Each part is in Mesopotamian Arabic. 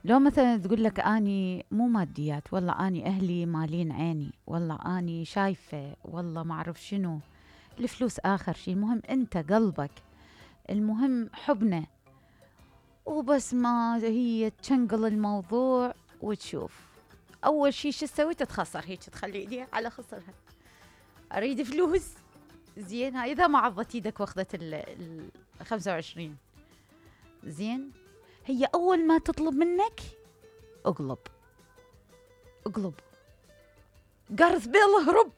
لو مثلا تقول لك اني مو ماديات، والله اني اهلي مالين عيني، والله اني شايفه، والله ما اعرف شنو، الفلوس اخر شيء، المهم انت قلبك، المهم حبنا، وبس ما هي تشنقل الموضوع وتشوف. اول شيء شو تسوي؟ تتخسر هيك، تخلي ايديها على خصرها، اريد فلوس. زين، هاي اذا ما عضت ايدك واخذت ال 25. زين، هي اول ما تطلب منك اقلب اقلب، جارث بيل اهرب.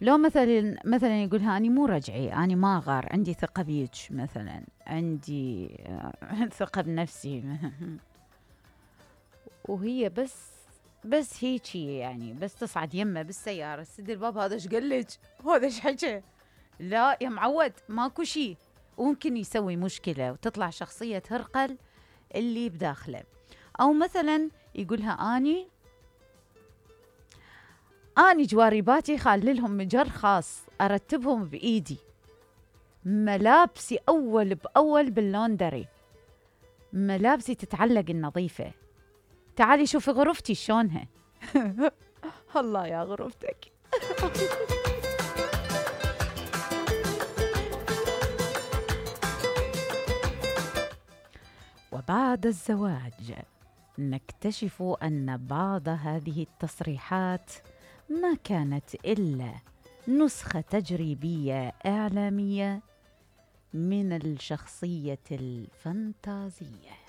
لو مثلا يقولها اني مو رجعي، اني ما اغار، عندي ثقه بيك، مثلا عندي ثقه بنفسي وهي بس هيجي يعني، بس تصعد يمه بالسياره سد الباب، هذا ايش قال لك؟ هذا ايش حكى؟ لا يا معود، ماكو شيء، وممكن يسوي مشكله وتطلع شخصيه هرقل اللي بداخله. او مثلا يقولها اني جواريباتي خالي لهم مجر خاص ارتبهم بايدي، ملابسي اول باول باللوندري، ملابسي تتعلق النظيفه، تعالي شوفي غرفتي شلونها. الله يا غرفتك. وبعد الزواج نكتشف أن بعض هذه التصريحات ما كانت إلا نسخة تجريبية إعلامية من الشخصية الفانتازية.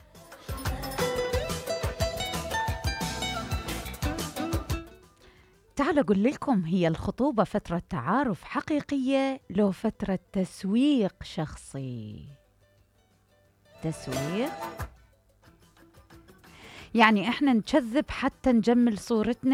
تعالوا أقول لكم، هي الخطوبة فترة تعارف حقيقية لو فترة تسويق شخصي؟ تسويق يعني احنا نكذب حتى نجمل صورتنا